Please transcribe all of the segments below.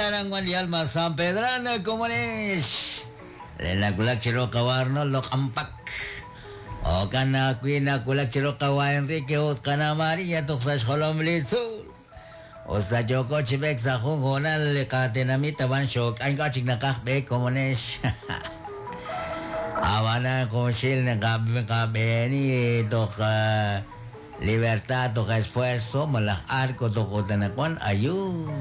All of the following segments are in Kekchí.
Aran wan li Alma San Pedrana komonex. Le nawulak chiru qawa Arnoldo Q'ampak. Jo'kan ajwi' nawulak chiru qawa Enrique ut qana Maria toj sa' xjolom li tzuul. Us ta yooko chi b'eek sa' jun hoonal li qatenamit ab'an xook'ay ink'a' chik naqaj b'eek komonex. Ab'anan junxil naqab'eeni toj Libertad toj Esfuerzo malaj Arco toj ut anaqwan ayuun.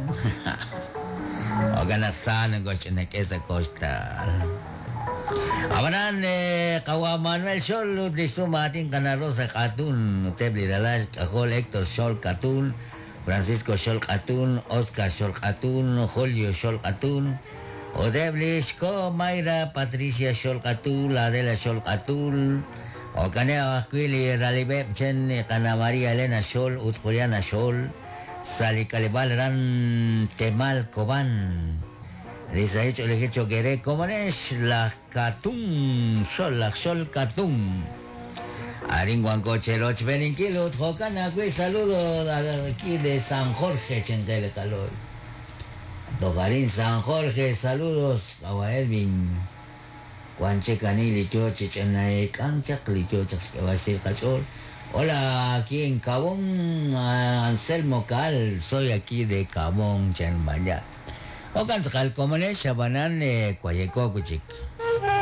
Jo'kan naq sa nokoxch'inak'e sa' koxtal. Ab'anan qawa' Manuel Xol ut li xsum aatin qana Rosa K'atun ut eb' li ralal xk'ajol Hector Xol K'atun, Francisco Xol K'atun, Oscar Xol K'atun, Julio Xol K'atun, ut eb' li xko' Mayra Patricia Xol K'atul, Adela Xol K'atul, jo'kaneb' ajwi' li ralib'eb' chen qana María Elena Xol ut Juliana Xol sa' li k'aleb'aal aran Temal Cobán. Li sahil ch'oolejil cho'q eere komonex laj Katun Xol, laj Xol Katun. Arin wanko cherochb'eeninkil ut jo'kan ajwi' saludo aquí de San Jorge chenqe li qalo'y. Toj arin San Jorge saludos qawa' Elvin. Wan chik ani li yo chi ch'ina eek'ank chaq li yo chaq xk'eeb'al xsahil qach'ool. Hola, aquí en Cabón, Anselmo Caal, soy aquí de Cabón, chan Maya. Jo'kan tz'aqal komonex, ab'anan wayeko wi' chik.